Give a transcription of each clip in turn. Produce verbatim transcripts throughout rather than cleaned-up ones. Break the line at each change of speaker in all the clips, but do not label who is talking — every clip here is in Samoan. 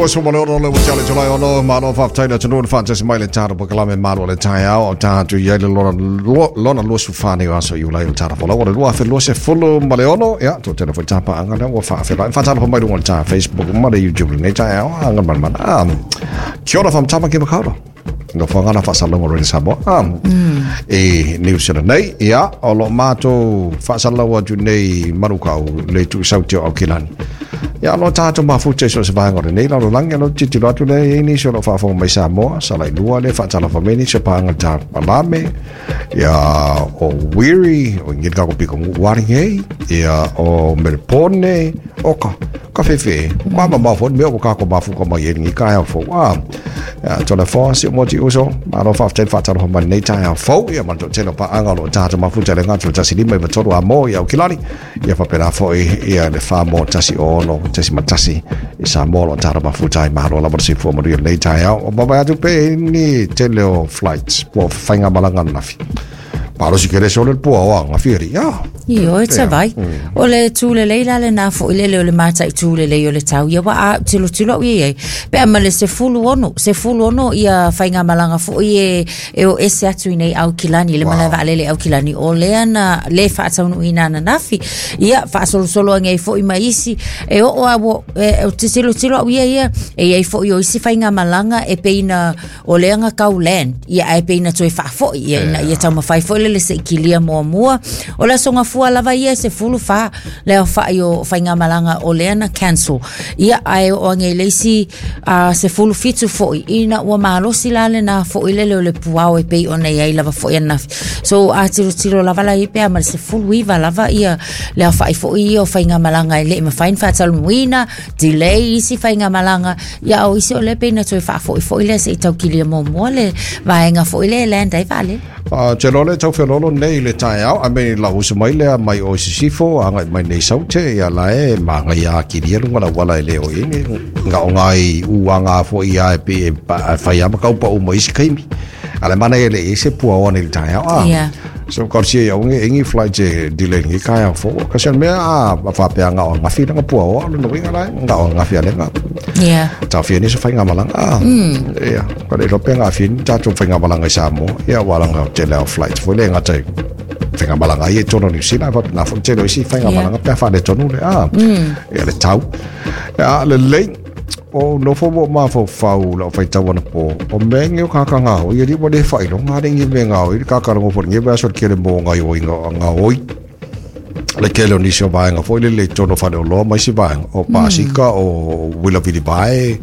Luasu ma le ono le ua le July ono malo faafetai le atunuu le faatasi mai le tatou polokalame Malo le Taeao o tatou i ai le lona lona luasu fa nei o aso Iulai o le tatou folau o le lua afe luasefulu ma le ono. Ia toatele foi tapaaga lea ua faafeiloai faatalofa mai luga o le ta Facebook ma le YouTube lenei taeao aga malemala. Kia ora from Tāmaki Makaurau. No whangana whaasalaunga Radio Samoa. E New Zealand nei, ia, o lo mātou whaasalaua atu nei marukau le tuusauti o Aukilani. Ia, lo tātou mafuta i so se vaenga o lenei lalolagi, lo tilotilo atu lea i ai nisi o lo faafofoga mai Samoa, sa lailua le faatalofa mai nisi o paaga le tā palame, ia, o Wiri, o ingili kako piko ngu waringei, ia, o Melpone, o ka, ka fefe, o ka mamao fo, mea o kako mafuka mai e lengi ka hea fo, a, ia, tole fo, si o moti uso, malo faafetai le faatalofa mai lenei taeao fou, ia ma le toatele o paaga o lo o tatou mafuta i le gatu le tasi lima iva tolu a mo i Aukilani, ia faapena foi ia le fa mo tasi ono tasi ma tasi i Samoa o lo o tatou mafuta ai. Malo lava le soifua manuia lenei taeao. O mavae atu pe ni tele o flights po o faigamalaga ananafi. Malosi kele sole le pua o anga fieri. Ia.
Ioe tavai. O le tulelei la lenā foi lele o le mataitū lelei o le tau ia ua a tilotilo au ia i ai. Pe a ma le sefulu ono, sefulu ono ia faigamalaga foi e e o ese atu i nei Aukilani, le malae vaalele Aukilani, o lea na le faataunuuina ananafi. Ia faasolosolo age ai foi ma isi e oo a ua e o te tilotilo au ia ia e i ai foi o isi faigamalaga e pei na o lea na kau land ia ae pei na toe faafoi ia ina ia taumafai foi lele seʻi kilia muamua. O le aso gafua lava ia e sefulu fa le aofaʻi o faigamalaga o lea na cancel ia ae oo age i le isi a sefulu fitu foʻi ina ua malosi la lenā foʻi lele o le puao e pei ona iai lava foʻi ananafi. So a tilotilo lava la ia pe a ma le sefulu iva lava ia le aofaʻi foʻi ia o faigamalaga e leʻi mafai ona faatalunuina delay isi faigamalaga ia o isi o lea pei na toe faafoʻifoʻi lea seʻi taukilia muamua le vaega foʻi lea e land ai vaalele.
Uh, te lole tau whelolo nei le taeao, a me la usa mai lea mai o sisifo, anga mai nei saute, ia la e maanga ia kiria lunga la wala e leo i ni, nga o ngai uanga fo ia e pe e pa, whai ama kau pa o mai isi kaimi. A le mana e le e se pua o nei le taeao. Ah.
Yeah.
So ka sia ia unge ingi flight e delay ngi kai fo. Ka sia mea a whapea nga o ngafi nga pua o lo winga lai nga o ngafi ale nga.
Yeah.
Ta fia ni se whai ngā malanga. Ah.
Mm.
Ia, ka le rope ngā fia ni tātou whai ngā malanga i Samoa. Ia, wala ngā tele o flight. Fo le ngā te whai ngā malanga i e tono New Zealand. Fa nā fo tele o isi whai ngā
Yeah.
malanga pea whane tonu le. Ah.
Mm.
Ia le tau. Ia, le lei. O nofo mo mafaufau lau faitau anapo o mea ege o kakagao ia liua le faailoga alii mea gaoi le kakalogo foi lenei vaiaso le kele mo gaoiga gaoi le kele o nisi o vaega foi lele i totonu o faleoloa ma isi vaega o pasika o uila vilivae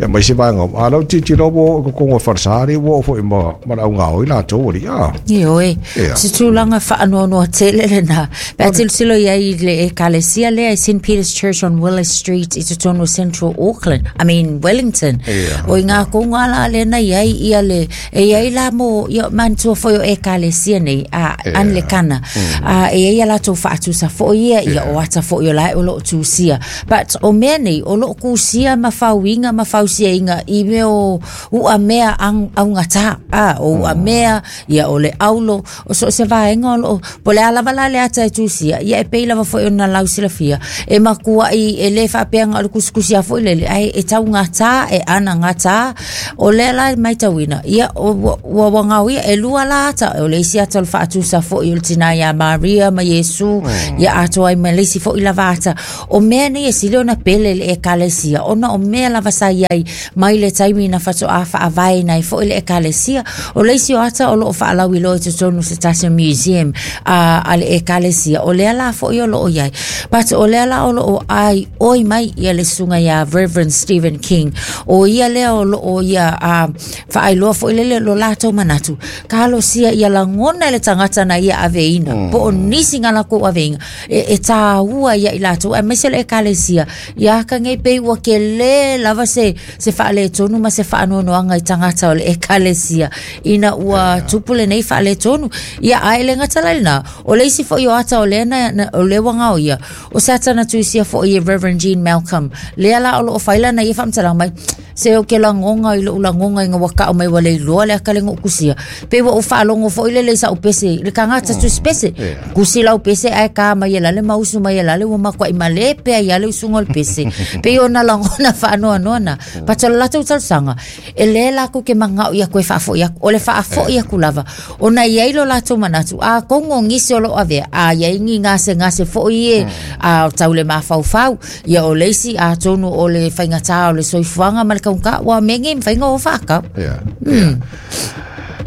ia ma isi vaega a lau tilotilo ua oo i totonu o falesa alii ua oo foi ma ma le augaoi latou alii a
Ioe,
ia
se tulaga faanoanoa tele lenā. Pe a tilotilo i ai i le ekalesia lea i Saint Peter's Church on Willis Street i totonu o Central Auckland, I mean Wellington.
Ia
O i ngā konga la lea na i ai ia le, e i ai la mo, ia manatua foi o ekalesia nei, a
ia
Anglikana, a e i ai a latou faatusa foi ia, ia
ia
o ata foi o lae o loo tusia. But o mea nei, o loo kusia ma fauiga ma fausiaiga i mea o ua mea ang, augata, a, o ua mea, ia o le aulo, o so se vaega o loo, po le a lava la le ata e tusia, ia e pei lava foi ona lau silafia, e makuaʻi e lē faapeaga o le kusikusi a foi lele, ae e taugata, e anagata, o lea la e matauina, ia o, ua, ua wagaoia, e lua la ata, o le isi ata o le faatusa foi o le tinā iā Maria ma Iesu, ia atoa ai ma le isi foi lava ata. O mea nei e sili ona pele i le ekalesia, ona o mea lava sa iai mai le taimi na faatoā faavaeina ai foi le ekalesia. O le isi o ata o loo faalauiloa i totonu o se tasi o museum a, a le ekalesia, o lea la foi o loo iai. But o lea la o loo ai oi mai ia le susuga iā Reverend Stephen King, o ia lea o loo ia a, faailoa foi lele lo latou manatu. Talosia ia lagona e le tagata na ia aveina, po o nisi na lakou aveiga, e, e tāua ia i latou, aemaise le ekalesia, ia akagei pei ua kelē lava se, se faaletonu ma se faanoanoaga i tagata o le ekalesia, ina ua tupu lenei faaletonu. Ia ae le gata la lenā, o le isi foi o ata o lea na, na, o lea ua gaoia, o se ata na tuisia foi e Reverend Jean Malcolm, lea la o loo fai lana ia faamatalaga mai, Se o ke lagonga i lo'u lagonga ina ua ka'u mai ua le iloa le aka lega kusia pe ua ou fa'alogo fo'i lele i sa'u pese le tagata tusi pese kusi lau pese ae ka mai e lale ma usu mai e lale ua makua'i malē pea ia le usuga o le pese pei ona lagona fa'anoanoa na pata o le latou talosaga e lē lakou ke maga'u ia koe fa'afo'i aku o le fa'afo'i aku lava ona iai lo latou manatu a kogo gisi o lo'o avea a iai gi gasegase fo'i e a tau le mafaufau ia o le isi atonu o le faigatā o le soifuaga ma le kaugā ua mege mafaiga o fa'akau.
Yeah. Yeah.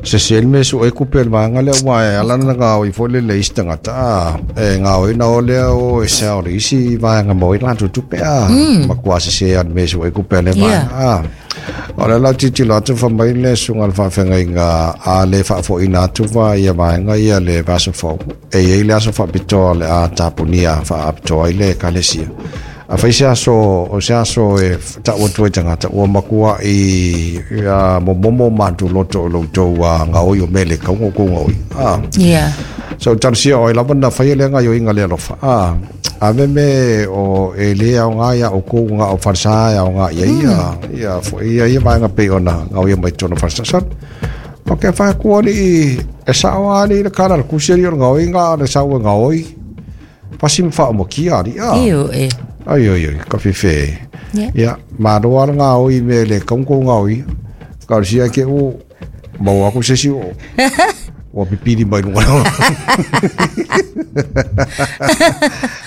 Se se me su e kupe vaega lea ua e ala na gaoi foi le le isi tagata a e gaoi na o lea o e sa o le isi vaega mo i latou tupe a makua se se a me su e kupe le vaega a o le lau titilo atu fa mai le suga le faafegaiga a le faafoʻina atu va ia vaega ia le vaso fou e iai le aso faapitoa le a tapunia faapitoa ai le ekalesia a fai se aso o se aso e ta'u atu ai tagata ua makua i ia momomo matu loto o loutou gaoi o mele kauga o kou gaoi a
Yeah.
So talosia oi lava na faia le gaioiga le alofa a ave me o e lē aogā ia oukou ga o falesā e aogā ia ia ia fo'i ia ia vaega pei ona gaoia mai tonu falesa sa o ke faakua ali'i e sa'o ali le kala le kusi ali o le gaoiga le sau e gaoi pasi ma fa'amokia ali a
Io e.
Ai ai ai ka fife.
Yeah.
Ia malo ala gaoi me le kaungo gaoi ka sia ke u mau aku se si o ua pipili mai luga.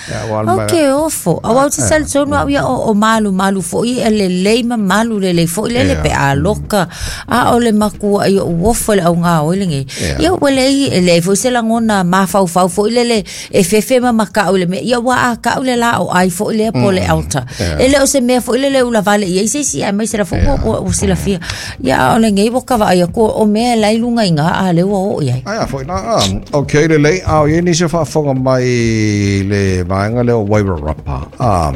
Ia ua
O ke ofo. Au au te sal tonu au ia o, o malu malu fo'i e le lei ma malu le lei fo'i lele
Ia.
pe a loka. A o le makua i o uofo le au ngā oi le ngei.
Ia.
Ia ua lei e lei foi se langona mafaufau fo'i lele e fefe ma maka'u le mea. Ia ua a ka'u le la o ai fo'i lea po le altar.
Ia.
E le o se mea fo'i lele ula vale ia i se isi ai mai se la fo ua ua ua silafia. Ia o le ngei waka va ia ko o mea lai lunga i ngā a le ua o iai.
Ai a foi la a okay le lei a o ni se faafofoga mai le vaega lea o Wairarapa a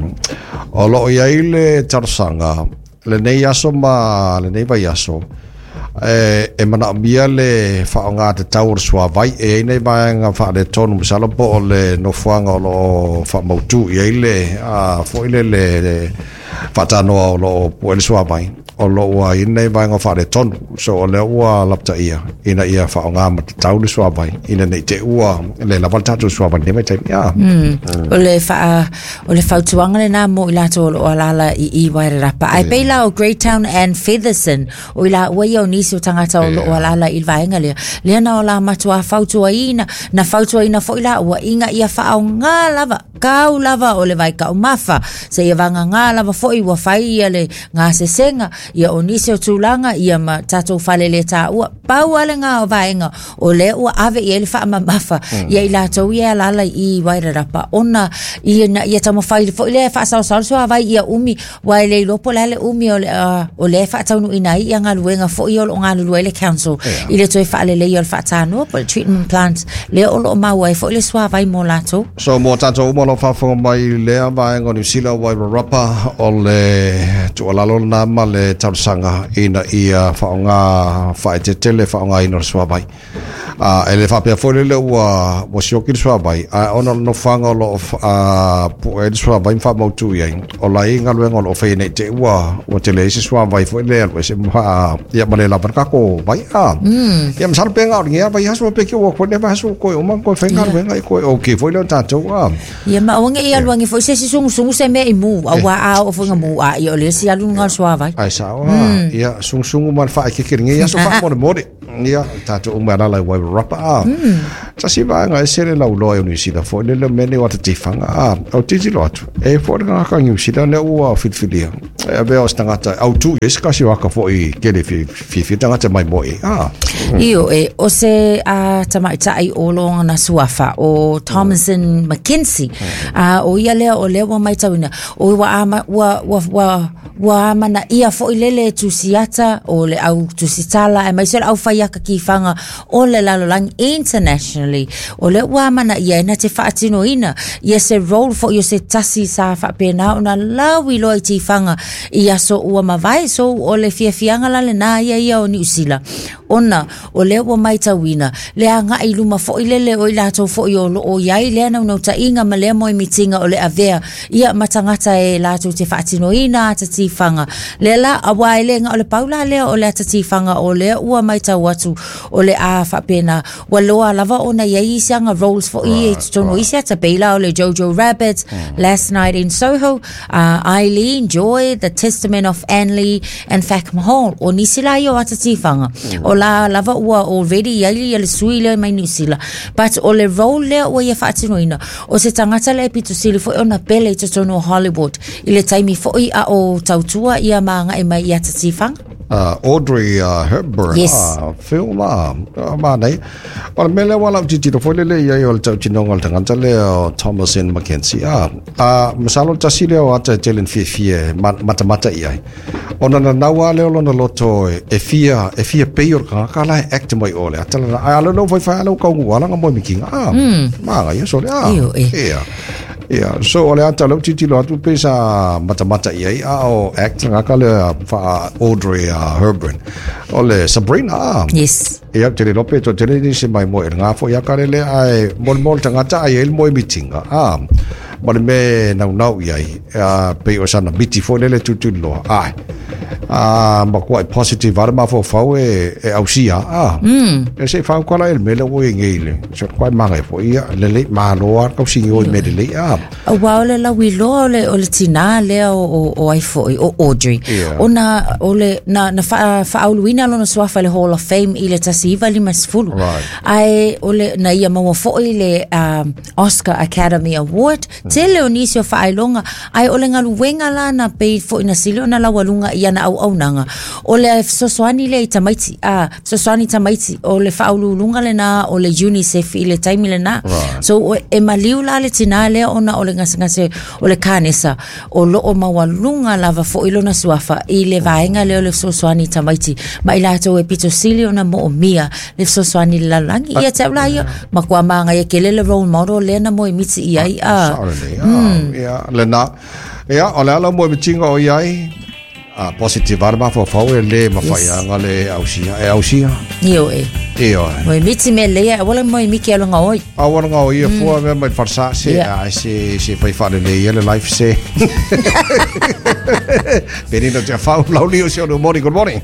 o loo iai le talosaga lenei aso ma lenei vaiaso e e manaomia le faaogā tatau o le suavai e ai nei vaega faaletonu masalo po o le nofoaga o loo faamautū i ai le a foi le le le faatanoa o loo pu'e le suavai o loo ua i nei vaega faaletonu so o lea ua lapataia ina ia faaogā matatau le suavai ina nei te ua le lava le tatou suavai nei vaitaimi a
Mm. O le wha, o le fautuanga le nā mo i latou o lo alala i i Wairarapa. Ai pei la o Greytown and Featherson, o i la ua ia o nisi o tangata o lo o alala i vaenga lea. Lea na o la matua fautuaina, na fautuaina foi la ua inga ia whaongā lava, kau lava o le vai kau mafa. Se ia vanga ngā lava foi ua whai ia le ngā sesenga, ia o nisi o tūlanga, ia ma tātou whalele tā ua. Pau ale ngā o vaenga, o le ua ave i ele whaamamafa, ia i latou ia alala i Wairarapa. Ona ia na ia taumafai foi le faasaosao le suavai ia umi ua e le iloa po o le a le umi o le uh, o le faataunuuina ai ia galuega fo'i o loo galulue ai le council i le toe faaleleia o le faatanoa po o le treatment plant lea o loo maua ai fo'i le suavai mo latou.
So mo tātou uma lo faafofoga mai lea vaega o Niu Sila Wairarapa o le tuualalo lena ma le talosaga ina ia faaogā faaetetele faaogāina o le suavai a e le faapea foi lele ua ua sioki le suavai a ona o le nofoaga o loo a pu'e ai le suavai ma faamautū i ai o lai galuega o loo faia nei te ua ua tele ai se suavai foi le alu ese ma ia ma le lava le kako vai a ia masalo pe gao le vai aso pe ke ua koe le vai aso koe o ma koe fai galuega i koe o ke foi le o tātou a
Ia ma oange i aluangi foi se si sungusungu se mea i mu au a a o foi nga mu a i o le si alu nga suavai.
Ai sao a ia sungusungu ma le faakekelega ia aso faamolemole ia tātou uma alala i Wairarapa a tasi vaega e sele lauloa e o Niu Sila foi le le mene o atatifaga a o titilo atu e foi le gagaka Niu Sila lea ua filifilia e avea o se tagata autū i ai se kasi o aka fo'i kele fiafia tagata mai moe a
Io e o se a tamaitai o loga na suafa o Thomason McKenzie a o ia lea o lea ua maitauina o ua ama ua ua ua ua amana ia fo'i lele tusiata o le au tusitala e mai se le au whaiaka ki whanga o le lalolagi internationally o le ua amana ia e na te whaatinoina ia se role fo'i o se tasi sa whaapena o na lau iloa i tiwhanga i aso ua mavae so o le fiafianga la le nā ia ia o Niu Sila Ona o lea ua matauina le agaʻi luma foʻi lele o i latou foʻi o loo iai lea naunautaiga ma lea moemitiga o le avea ia ma tagata e latou te faatinoina ata tifaga lea la auā e lē gao le pau la lea o le ata tifaga o lea ua matau atu o le a faapena ua loa lava ona iai isi aga roles foʻi ia i totonu o isi ata pei la o le Jojo Rabbit, Last Night in Soho, uh, Eileen Joy, The Testament of Anne Lee and Fackham Hall. O nisi la ia o ata tifaga o la lava ua already iai ia le sui lea mai Niu Sila, but o le role lea ua ia faatinoina o se tagata lea e pitosili foʻi ona pele i totonu o Hollywood i le taimi foʻi a o tautua ia ma agaʻi mai i ata tifaga.
uh, Audrey uh, Hepburn.
Yes.
Ah, film ah, ah, ma nei o le mele wala titiro foi lele ia o le tautinoga o le tagata lea o Thomasin McKenzie ah, ah, masalo tasi lea o ata e tele fiafia matamata i ai ona na naua lea o lona loto e, e fia e fia pei o le kangaka la e act mai o le ata lana ai alo no fai fai alo kaungu ala nga moi mikinga ah, maga ia so le ah.
Io, e.
Ia. Ia, so o le ata lau titilo atu pe sa matamata i ai a o act ngaka le fa Audrey uh, Hepburn. O le Sabrina ah.
Yes.
Ia te le lope to tele ni se mai mo e ngā fo ia kare le ai mol mol tangata ai el moi mitinga. Ah, ma le me nau nau i ai a pe o sana miti fo lele tutu loa. Ai. Ah, ma kua positive ara ma fo fau e e ausia. Ah. Mm. E se fau kala el mele o e ngeile. So kwa manga fo ia le le ma loa kau singi o me le ah.
Auā o le lauiloa o le, o le tinā lea o, o, o ai foʻi o Audrey.
Yeah.
Ona o le na, na faa, faauluina lona suafa i le Hall of Fame i le tasi iva lima sefulu.
Right.
Ae o le na ia maua foʻi le um, Oscar Academy Award. Tele o nisi o faailoga ae o le galuega la na pei foʻi na sili ona laualuga i ana auaunaga o le fesoasoani lea i tamaiti a fesoasoani tamaiti o le faauluuluga lenā o le UNICEF i le taimi lenā.
Right.
So o- e maliu la le tinā lea ona o le gasegase o le kanesa o loo maualuga lava foʻi lona suafa i le vaega lea o le fesoasoani i tamaiti ma i latou e pitosili ona moomia le fesoasoani le lalolagi ia te au la ia makuā magaia kele le role model lea na moemiti i ai a.
Sao le ah, ia le na ia o le ala mo mitinga o iai ah, positive ara ma fo fau e le ma fai
Yes.
anga le ausia e ausia
Io e
e o
moemiti me lea wala moemiki alonga oi.
A wana ngā o ia fua mea mai farsa se
Yeah.
ai se se fai whare le ia le life se. Penina te whau lau lio se ono morning, good morning.